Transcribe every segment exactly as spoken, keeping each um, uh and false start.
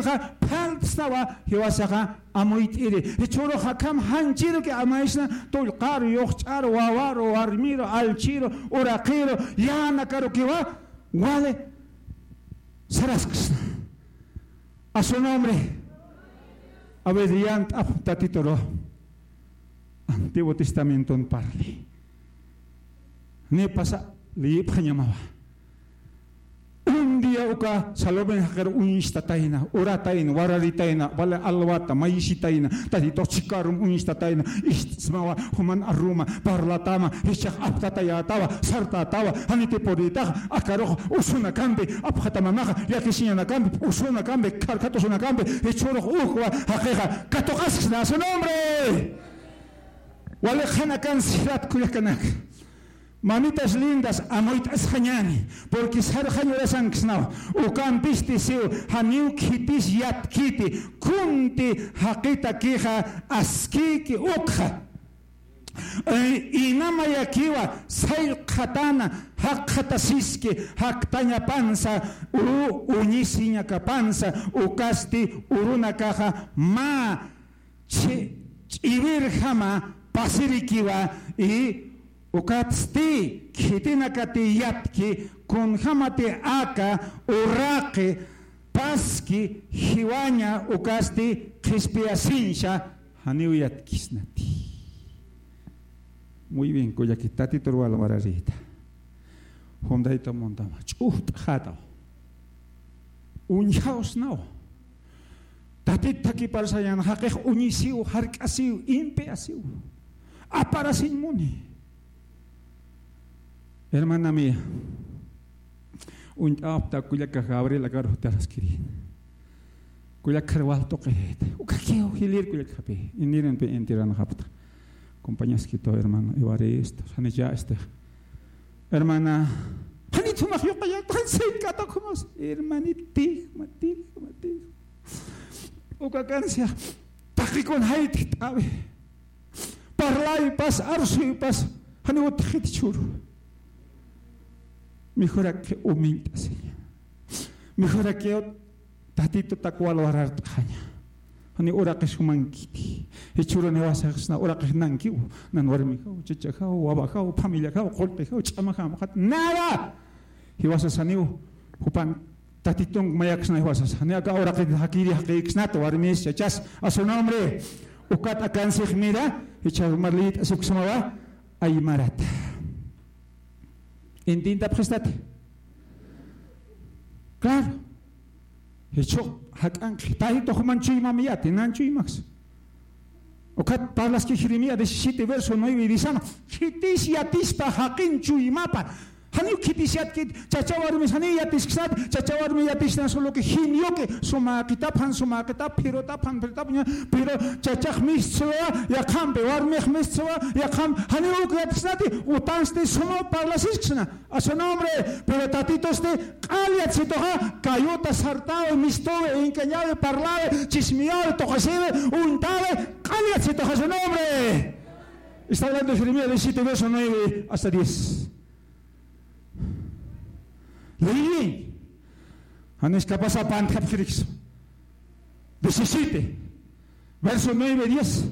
Phaltstawa jiwasaxa amuyt'iri. Jichhürux akham janchiruki amaysna tullqaru, yuxch'aru, wawaru, warmiru, allchiru, uraqiru, yänakarukiwa wali sarasksna. A su nombre. A ver, yant'ap Tatituru. Antiguo Testamenton parli. Ni pasa liyipxañamawa. Un día uka Salomé jaqir uñstatayna, uratayna, wararitayna, wali alwata, mayisitayna, Tatitux chhikarum uñstatayna, ist'smawa, juman aruma, parlatama, jichhax aptatayätawa, sartätawa, janiti purïtaxa, akarux usunakampi, apxatamamaxa, llakisiñanakampi, usunakampi, kharkhat usunakampi, jichhürux ukwa, jaqixa, katuqasksna, a su nombre. Wali qhanakan sirat kullakanaka. Mamitas lindas, amuyt'asxañäni, porque sarxañ urasanksnaw. Ukampisti siw, janiw khitis yatkiti, kunti jaqitakixa askïki ukxa. Eh, inamayakiwa, sayllqatäna, jaqxatasiski, jaktañapansa, u-, uñisiñakapansa, ukasti urunakaxa mä chi-, ch'iwirjama pasirikiwa, y ukatsti khitinakati yatki, kunjamati aka uraqi paski jiwaña ukasti qhispiyasiñsa janiw yatkisnati. Muy bien, kullaki, Tatitur walwararïta. Jumdayta muntama, ch'ujt'xätaw. Uñjawsnaw. Tatit thakipar sayan, jaqix uñisiw, jark'asiw, impiasiw. Aparasiñ muni. Hermana mía, uñt'awapta kullaka Gabriel akaru jutaraskiri. Kullakar wal tuqit. Ukakiw jilïr kullakapï. Inirinpï intiranxapta. Compañaskitaw hermano Evaristo, janicha este. Hermana, janit jumax yuqañat, jan sink'ata jumas. Hermanitix, matix, matix. Uka kansia, taqikun jayt't'awi. Parlaypas, arsuypas, jani utjit churu. Mejoraki humilt'asiña. Mejoraki Tatitutak walwarart'xaña. Jani uraqis jumankiti. Jichhürun jiwasaxsna uraqix nankiw. Nan warmijaw, chachajaw, wawajaw, familiajaw, qullqijaw, ch'amajaw, qat-, nada. Jiwasas janiw, jupan Tatitun mayaksna jiwasas. Jani aka uraqit jakiri jaqïksnat, warmis, chachas, a su nombre. Ukat akansix mira, jichha jumar liyt'asiksmawa, aymarata. Entiendapxistati. Claro. Jichhu jak'anqi, Tatitu juman chuymamiyati, nan chuymax. Ukat parlaski Jeremías diecisiete, verso nueve, dice, khitis yatispa jaqin chuymapa. Janiw khitis yatkit, chacha warmis janiw yatisksnat, chacha warmi yatisna solo que genioki, sumäqitap, jan sumäqitap, phirutap, jan phirutap, ña, pero chachax mistswa yaqhampi, warmix mistswa yaqhamp, janiw uk yatisnati, utansti sumaw parlasisksna. A su nombre, pero Tatitusti q'al yatsituxa, kayuta sartawi, mistuwi, engañawi, parlawi, chismiyawi, tuqisiwi, uñtawi, q'al yatsituxa a su nombre. Está hablando Jeremías diecisiete, verso nueve hasta diez. Leí. Janis kapasa pantjapxirix. Diecisiete, verso nueve, diez.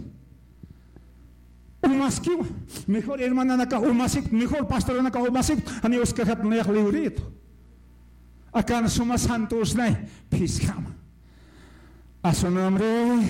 Umaskiwa. Mejor hermananaka umasip, mejor pastoranaka umasip, jani uskarjat nayax liwrïtu. Akan suma santusnay, phiskhama. A su nombre.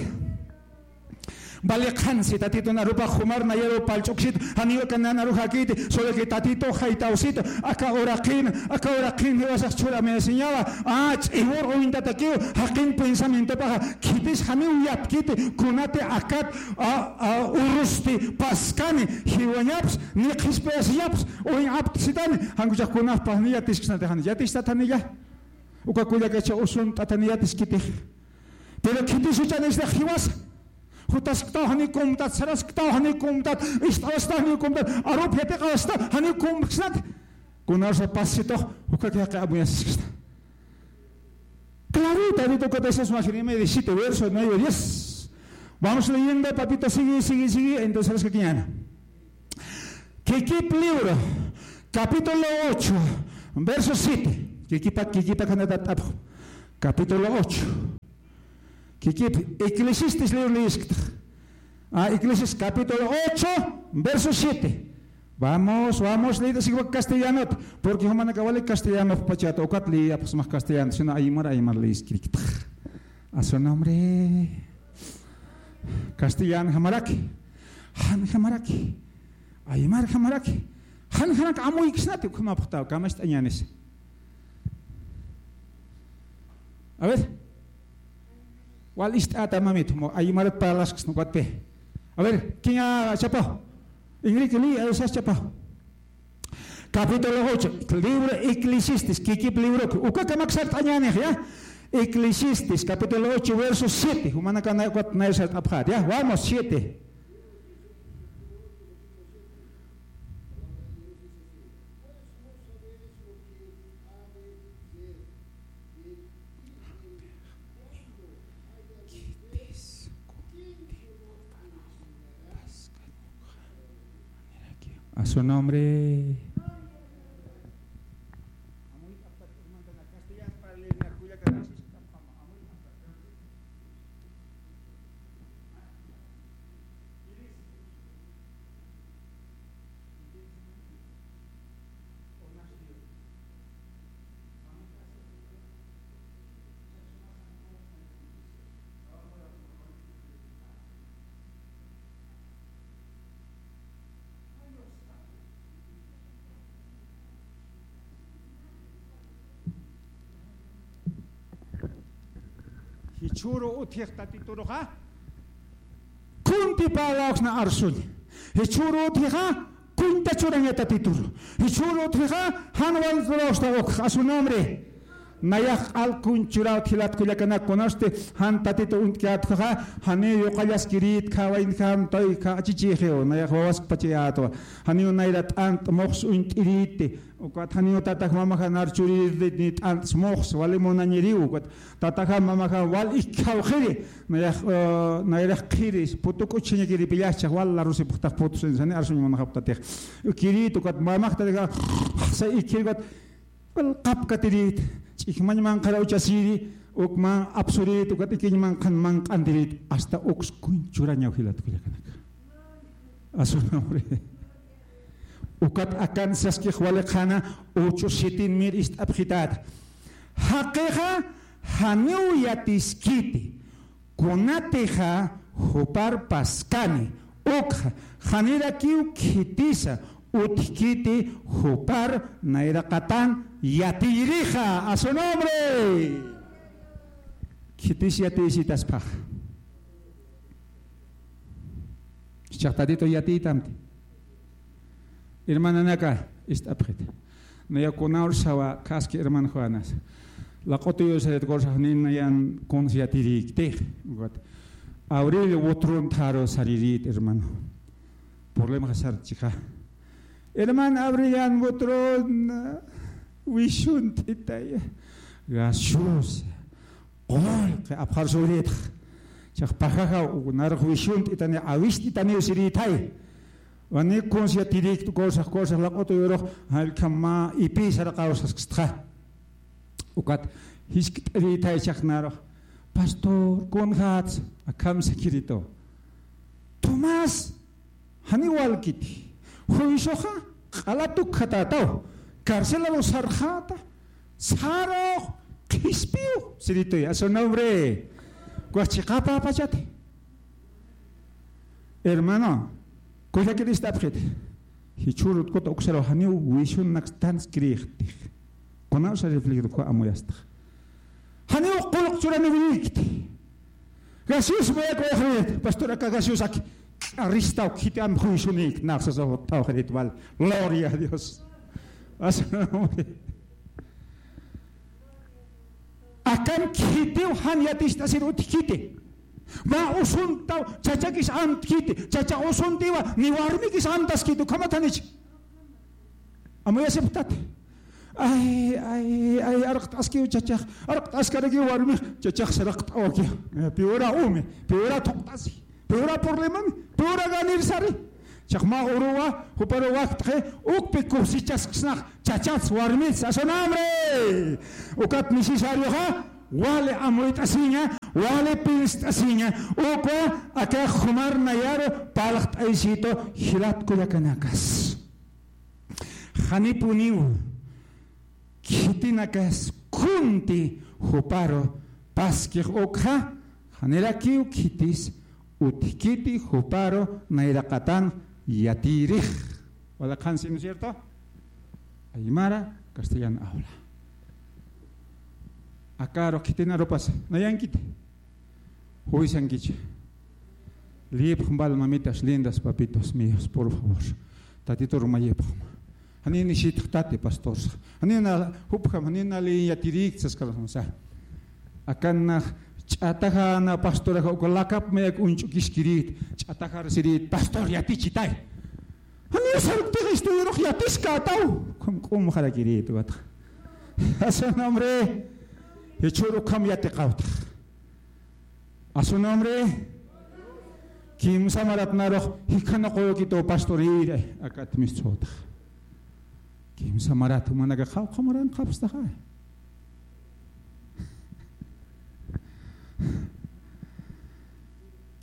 Vale qhansi, Tatitun arupax jumar nayaru pallch'uksit, janiw aka nan aru jakiti, solo que Tatitu jaytawsit, aka uraqin, aka uraqin jiwasax churamiasiñawa, a, ch'iwur uñtatakiw, jaqin pensamientopaxa, khitis janiw yatkiti, kunati akat, a, a, urusti paskani, jiwañaps, ni qhispiyasiñaps, uñaptsitani, jan kuchax kunapxpa, ni yatisksnati, jan yatistat janiya. Uka kullakacha usunt'atani yatiskitix. Pero khitis uchanistax jiwasa. Jutasktaw janiw kumtat, sarasktaw janiw kumtat, ist'awstaw janiw kumtat, arup yatiqawstaw janiw kumksnat. Kunarsa pasitux, uka kaqi amuyasisksta. Clarita, ahorita uka dices más, Jeremías diecisiete, verso nueve, diez. Vamos leyendo, papito, sigue, sigue, sigue, entonces, ¿qué quiñana? Kikip libro, capítulo ocho, verso siete. Kikipa, kikipa kanata t'apxu. Capítulo ocho. Kikip Eclesiastes libro liyisktx. Ah, Eclesiastes capítulo ocho, verso siete. Vamos, vamos, liyt'asikiwa castellanot, porque jumanaka wali castellanopxpachat, ukat liyapxsmax castellano, sino aymar, aymar liyiskiriktx. A su nombre. Castellanjamaraki, janjamaraki, aymarjamaraki, janjanak amuyksnati, ukhamapxtaw, kamacht'añänis. A ver. Wal ist'ata mamit, mo aymarat parlasksna ukatpi. A ver, ¿quién ha chapado? Enrique, li, a ver, ¿has chapado? Capítulo ocho, libro Eclesiastes, kikip libro, uka kamak sart'añänix, ¿ya? Eclesiastes, capítulo ocho, verso siete, jumanaka nay, ukat nay sart'apxät, ¿ya? Vamos, siete. A su nombre. Jichhüru utjix Tatituruxa, kuntï parlawksna arsuñ. Jichhüru utjixa, kuntï churaña Tatituru. Jichhüru utjixa, jan wal lurasta ukx, a su nombre. Nayax q'al kuntï churäwt jilat kullakanak, kunasti jan Tatitu uñt'kät ukhaxa, janiw yuqallaskirït, khawayinjam, tayka achichïxiw, nayax wawaskpachayätwa. Janiw nayra t'ant muxs uñt'irïti. Ukat janiw tatax mamaxa nar churirït ni t'ant muxs, wali munañiriw, ukat tataxa mamaxa wal ikkawxiri, nayax, eh, nayrax qhiri, putu k'uchxañakiripï, jichhax wal larusipxtax putu, sani arsuñ munaxapxtatix. Ukirït, ukat mamax tataxa, say ikkir, ukat wal qapkatirït, ch'ijmañ manqhar uchasiri, uk man apsurït, ukat ikiñ manqhan manq'antirït, hasta uks kuntï churañaw jilat kullakanak. A su nombre. Ukat akan saskix wali qhana, ocho sitin mir ist'apxitäta. Jaqixa janiw yatiskiti, kunatixa jupar paskani, ukxa janirakiw khitisa utjkiti jupar nayraqatan yatiyirixa. A su nombre. Khitis yatiyisitaspax. Jichhax Tatitu yatiytamti. Hermananaka, ist'apxit. Nayax kunawr sawa, kaski hermano Juanas. Laq'utuyusarit kursax nin nayan kuns yatirïktix. Ukat. Abril Butrón tharu sarirït, hermano. Problemaxa sartxixa. Hermano Abrilian Butrón, wisunt'itaya. Gaseosa. Qullqi apxar suritx. Jichhax pajaxa, narux wisunt'itani, awist'itaniw sirïtay. Wani kuns yatirïkt kursax, kursax laq'utuyurux, jallkham mä ipï saraqaw saskstxa. Ukat jiskt'irïtay jichhax narux. Pastor, kunjats, akham sakiritu. Tomás, janiw walkiti. Juicioxa q'ala tukjatätaw. Carcelaru sarxäta. Sarux qhispiw. Sirituy, a su nombre. Ukax chiqapäpachati. Hermano, kullakir ist'apxit. Jichhürut kut uksaru janiw visionnak tanskirïxtix. Kunawsa reflejar uka amuyastx. Janiw qullq churaniwirïkti. Gaseosa mayak wayxirït, pastor, aka gaseosa k'aristaw khitam juisunïkt, nax sasa jutt'awxirit wal. Gloria a Dios. Akan khitiw jan yaticht'asir utjkiti. Mä usuntaw chachakis amtkiti, chacha usuntiwa ni warmikis amtaskiti, ukhamat janich. Amuyasipxtati. Ay, ay, ay, arqt'askiw chachax, arqt'askarakiw warmix, chachax saraqt'awaki. Eh, piwra umi, piwra thuqt'asi, piwra problemami, piwra ganir sari. Jichhax mä uruwa, juparu waktxi, ukpi cosechasksnax, chachats, warmits, a su nombre. Ukat necesarioxa, Wali amuyt'asiña, wali pinst'asiña, ukwa aka jumar nayaru parlt'aysitu jilat kullakanakas. Janipuniw khitinakas kunti juparu paskix ukxa, janirakiw khitis utjkiti juparu nayraqatan yatïrix. Wali qhansi, ¿no es cierto? Aymara, castellano habla. Akaru khitin arupas, nayankiti. Juwisankicha. Liyipxam wal, mamitas lindas, papitos míos, por favor. Tatitur mayipxam. Janini sitx tati pastorsa. Janina jupjam, janina liy yatirïkta saskarxam sa. Akan nax ch'atajana pastoraxa uka lakap mayak uñch'ukiskirït, ch'atajar sirït, "Pastor, yatichitay." Janiw sarktix, estudiorux yatiskätaw. Ukham k'umxarakirït ukatxa. A su nombre. Jichhür ukham yatiqawtax. A su nombre. Kimsa marat narux jikxanuqüwkituw pastor iri, akat mistxawtax. Kimsa marat, jumanakax qhawqha maran qhapstaxa.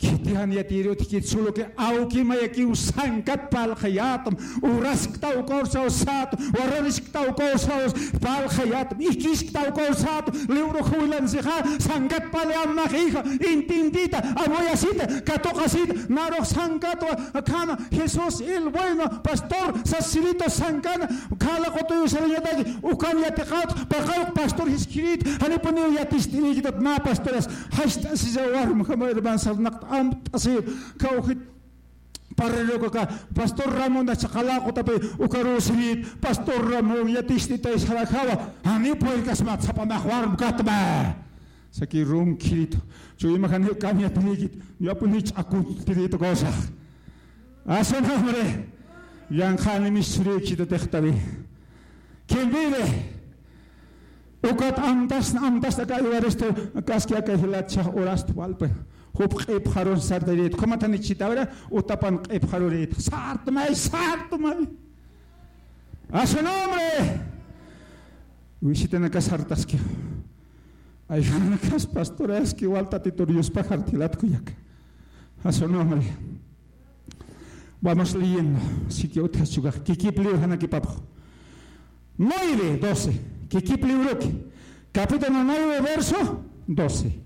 Khiti jan yatïri utjkit, solo que awki mayakiw sankat parlxayätam, urasktaw ukaw saw sätu, wararisktaw ukaw saw parlxayätam, ikisktaw ukaw sätu, libro juwilansixa, sankat parlxayätam, hija, entiendita, amuyasita, katuqasita, narux sankatwa, akhama, Jesús, el bueno pastor, sasiritu sankana, khala qutuyu sarañataki, ukan yatiqawt, paqawq pastor jiskirït, janipuniw yatist'irïkitat mä pastoras, jast'asisa warmjama hermano sarnaqt amt'asir, kawjit parrero kaka, pastor Ramón, chaqala qutapi, ukaruw sirït, pastor Ramón, yatist'itay sarajawa, janiw puyrkasmat sapanax warmkatma. Saki runkhiritu, chuyma janiw kamyatirïkit, yapuniw ch'akuntirïtu cosas. A su nombre. Yanqhani misthurïkita tixtawi. ¿Quién vive? Ukat amtasna, amtasna aka Evaristo, kaski aka jilat chhax urasta walpi. Jup q'ipxarun sartayrit. ¿Ukhamatanichita? A ver, utapan q'ipxarurit. Sartmay, sartmay. A su nombre. Visitanakas sartaski. Ay, janakas pastoraski, wal Tatitur Diospax sartayät kullaka. A su nombre. Vamos leyendo. Siki utjas chukax. Kikip libro janakipapxu. Nueve, doce. Kikip libroki. Capítulo nueve, verso doce.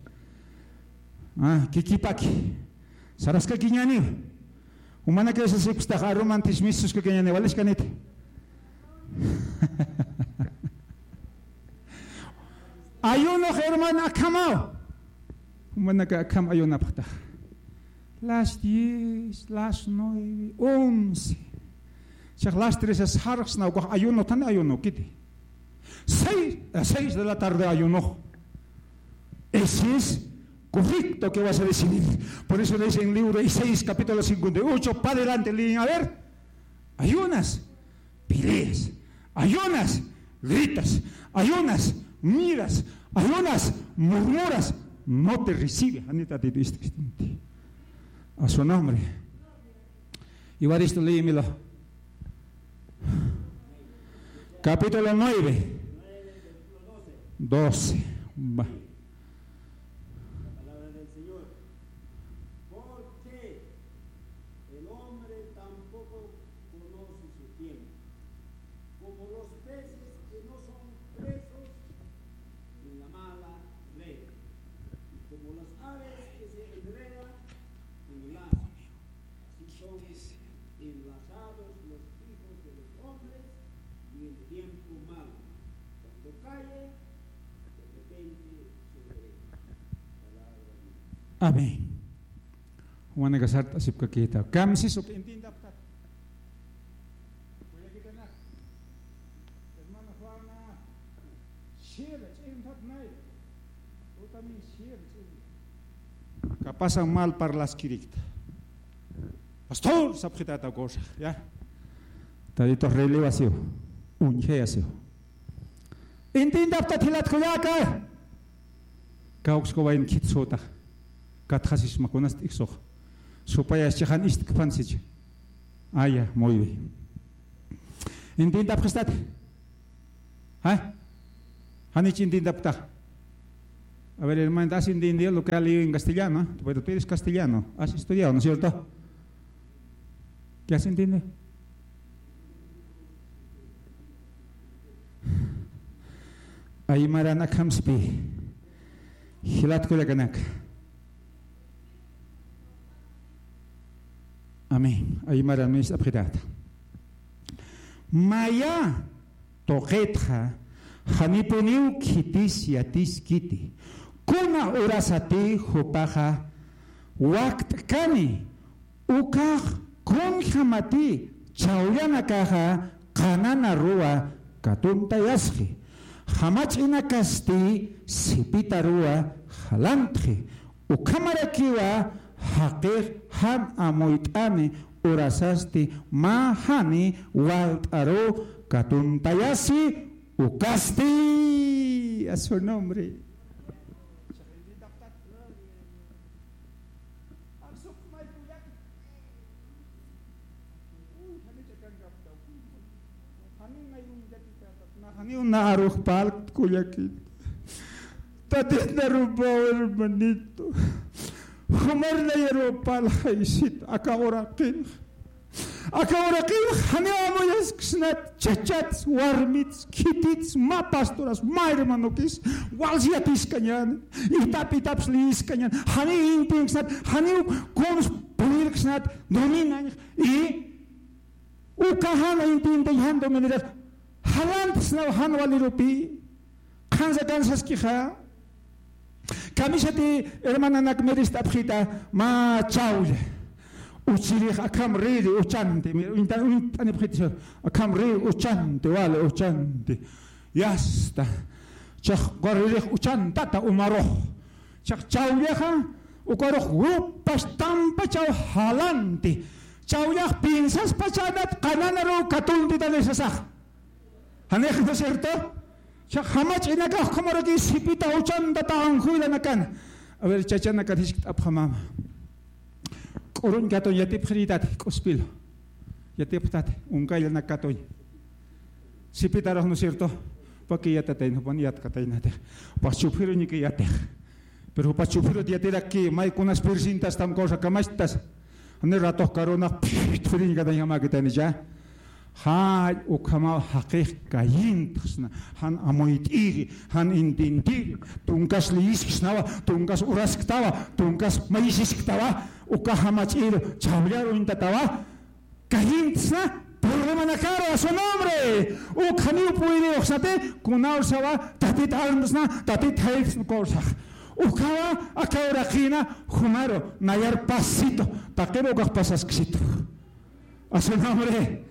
Ah, kikipaki. Saraskakiñäniw. Jumanakax sasipxstax, arumantis mistuskakiñäni, walichkaniti. Ayunox, hermano, akhamaw. Jumanakax akham ayunapxtax. Las diez, las nueve, once. Chax las tres sarxsna, ukax ayuno, tan ayuno, kiti. Seis, a seis de la tarde ayuno. Ese es correcto que vas a decidir. Por eso dice en el libro de Isaías, capítulo cincuenta y ocho, para adelante, leen, a ver. Ayunas, peleas, ayunas, gritas, ayunas, miras, ayunas, murmuras, no te recibe. Anita, te diste, este, este. A su nombre. Evaristo, léemelo. Capítulo nueve, doce. Va. La palabra del Señor. Porque el hombre tampoco conoce su tiempo, como los peces que no son presos en la mala red, y como las aves que se enredan en lazos. Así son enlazados los hijos de los hombres, y el tiempo malo, cuando cae, de repente sobre ellos. Palabra de Dios. Amén. Jumanakax sartasipkakïta. Kamsis uk entiendapxtat. Hermana Juana, share, ch'impat nay. Tú también share, ch'im. Kapasan mal parlaskirïkta. Pastor, sapxitata cosa, ya. Tadito relevasiw, uñjayasiw. Entiendapxtat jilat kullaka. Kawkska wayn khit sutax. Katxasisma kunas t'ijsux. Supayas chixan istkpan sicha. Aya, muy bien. Entiendapxistati. ¿Ha? Janich entiendapxtax. A ver, hermanita, ¿has entendido lo que ha leído en castellano? Pero tú eres castellano, has estudiado, ¿no es cierto? ¿Qué has entendido? Aymaran akhamspi, jilat kullakanaka. Amén. Aymaran mis apxirata. Maya tuqitxa, janipuniw khitis yatiskiti. Kuna urasati jupaxa wakt'kani, ukax kunjamati chawllanakaxa qananaruwa katuntayasxi. Jamach'inakasti sipitaruwa jalantxi. Ukhamarakiwa jaqix jan amuyt'ani urasasti mä jani walt'aru katuntayasi ukasti. A su nombre. Janiw na arux parlkt kullakit. Tatit narupaw, hermanito. Jumar nayaruw parlxaysit aka uraqinx. Aka uraqinx janiw amuyasksnat, chachats, warmits, khitits, mä pastoras, mä hermanokis, wals yatiskañän, itap itaps liyiskañän, janiw intinksnat, janiw kuns purïrksnat, dominañx, y uka jan intintañ jan dominañx, jalantsnaw jan walirupi. Qhansa kansaskixa. Kamisati hermananak mirist'apxita mä chawlla. Uchirix akham riri uchanti, mira, uñta-, uñt'anipxita, akham riri uchanti, wali uchanti. Yasta. Chax uka ririx uchantata umarux. Chax chawllaxa, ukarux grupas tampachaw jalanti. Chawllax piensaspachaynat qananaruw katuntitani sasax. Janix, ¿no es cierto? Chax jamach'inakax ukhamaraki sipita uchantata anjuylanakan. A ver, chachanakat jiskt'apxamama. K'uruñ katuñ yatipxirïtati, k'uspilu. Yatipxtati, uñkayllanak katuñ. Sipitarux, ¿no es cierto? Paki yatatayna, jupan yatkataynatix. Jupax chuphiruñki yatix. Pero jupax chuphirut yatirakki, may kunas pirsintastam kawsa kamachtas. Jani ratux karunax phiriñkatañjamäkitanicha. Jall ukhamaw jaqix kayintxsna, jan amuyt'iri, jan intintiri, tunkas liyisksnawa, tunkas urasktawa, tunkas mayisisktawa, uka jamach'iru chawllar uñtatawa, kayintxsna, problemanakaru a su nombre, ukhaniw puyiriwxsnati, kunawsawa, tatit armsna, tatit jaytsna kawsax. Ukawa, aka uraqina, jumaru, nayar pasito, taqiru ukax pasasksitu. A su nombre.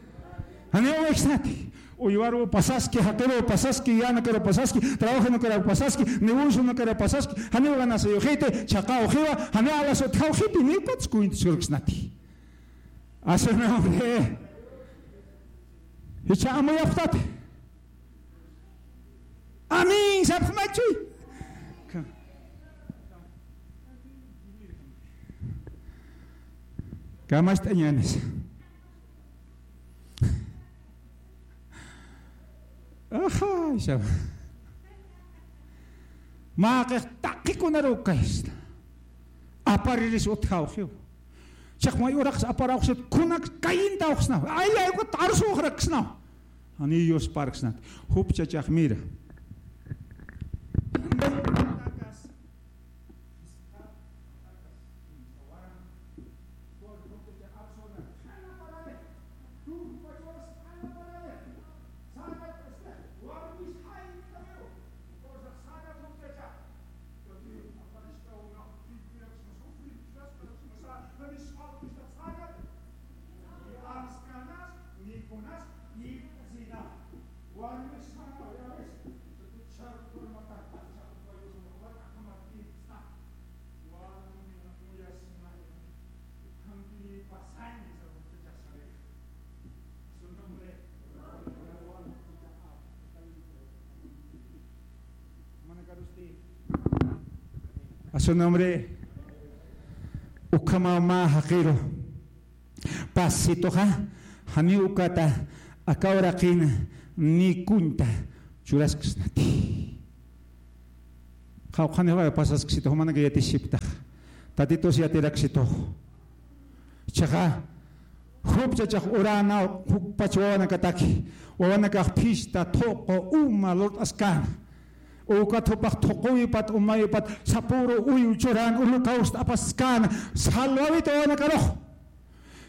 Janiw uwiksnati. Uywaru pasaski, jaqiru pasaski, yanakaru pasaski, trabajanakaru pasaski, negocionakaru pasaski, janiw ganasayuxiti, chhaqawxiwa, janiw alas utjawxiti, niw pats cuentasurksnati. A su nombre. Jichha amuyapxtati. Amén, sapxmachuy. Ka-, kamacht'añänis. Ajá, isha. Mä qix taqi kunaruw kaysna. Apariris utjawxiw. Chiqmay uraqs aparawxsit, kunak kayintawxsnaw. Ay, ay, ukat arsuxraksnaw. Janiw yusparksnat. Jup chachax mira. A su nombre, ukhamaw mä jaqiru. Pasitoxa, janiw ukata, aka uraqina, ni kuñta churasksnati. Qawqhanix pasaskisitux, jumanaka yatisiptax. Tatitus yatiraksitux. Chiqa, jup chachax urana, jukpach wawanakataki, wawanakax phista, thuqu, uma lurt'askana. Ukat jupax thuquwipat, umawipat, sapüru uyu churan, holocausto apaskäna, salvawit wawanakarux.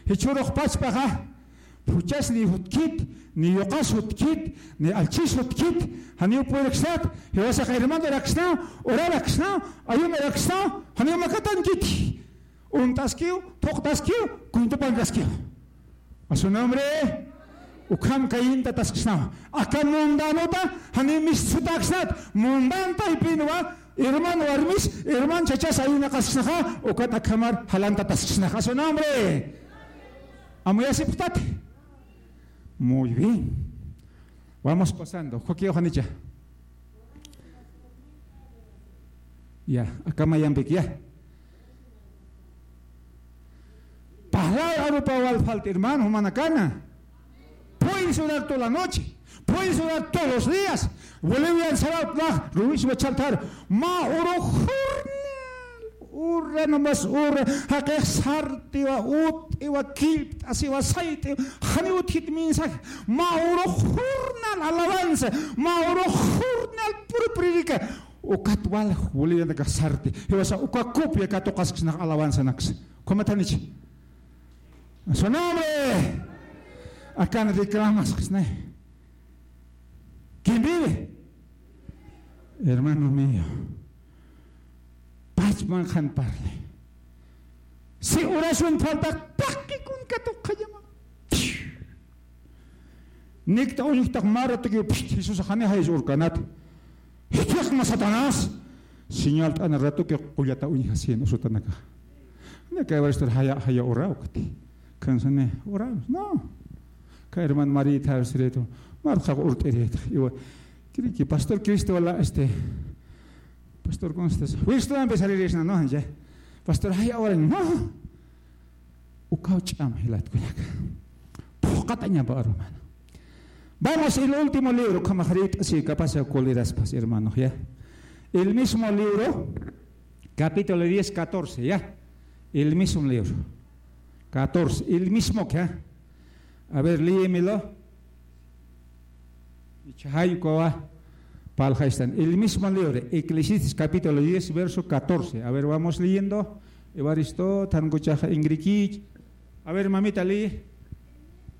Jichhürux pachpaxa, phuchas ni jutkit, ni yuqas jutkit, ni allchis jutkit, janiw puyraksnat, jiwasax hermanoraksnaw, oraraksnaw, ayunoraksnaw, janiw makatankiti. Unt'askiw, thuqtaskiw, cuento pankaskiw. A su nombre, ukham kayintataskisnaw. Aka mundanota, janiw mistsutaksnat, mundan taypinwa, hermano warmis, hermano chachas ayunaqaskisnaxa, ukat akhamar jalantataskisnaxa. A su nombre. Amuyasipxtati. Muy bien. Vamos pasando. Joaquín Janicha. Ya, acá Mayampic, ya. Palabra arupa wal falta, hermano, jumanakana. Pueden sudar toda la noche, pueden sudar todos los días. Bolivian sarat la, Luis Bachaltar, ma uru jurnal, urra nomás urra, jaqix sartiwa, ut'iwa, killpt'asiwa, sayt'iwa, jani utjit mensaje, ma uru jurnal alabanza, ma uru jurnal puro predica. Ukat wal Bolivianakax sarti, jiwasa uka copia katuqaskisnax alabanzanaksa. ¿Cómo te han dicho? A su nombre. Akan reclamas, ¿no? ¿Quién vive? Hermano mío. Pachman qhan parli. Si oración falta, taqikun katuqayama. Nikta uñjtax mä ratukiw, pst, Jesús jani jayas urkanat. Jichhasma Satanás. Señal t'ana ratuki qullata uñjasin usutanaka. Naka evaristor jaya, jaya uraw kati. Kansani uraw. No. Ka hermano Marita Alfredo. Marqa urt'irita. Iwa. Kiriki pastor Cristo wala este. Pastor, ¿cómo estás? Wisto empezar a ir, no, ya. Pastor, jaya urañ. No. Ukaw ch'am jilat kullaka. Phuqatañapa, hermano. Vamos, el último libro, kamaxrit, si capaz ya coliraspas, hermano, ya. El mismo libro, capítulo diez, catorce, ya. El mismo libro. Catorce, el mismo que, ya. A ver, léemelo. Ichhaykuwa, palxaystan. El mismo libro, Eclesiastés capítulo diez, verso catorce. A ver, vamos leyendo. Evaristo, Tankuchaja, Ingrid. A ver, mamita, lee.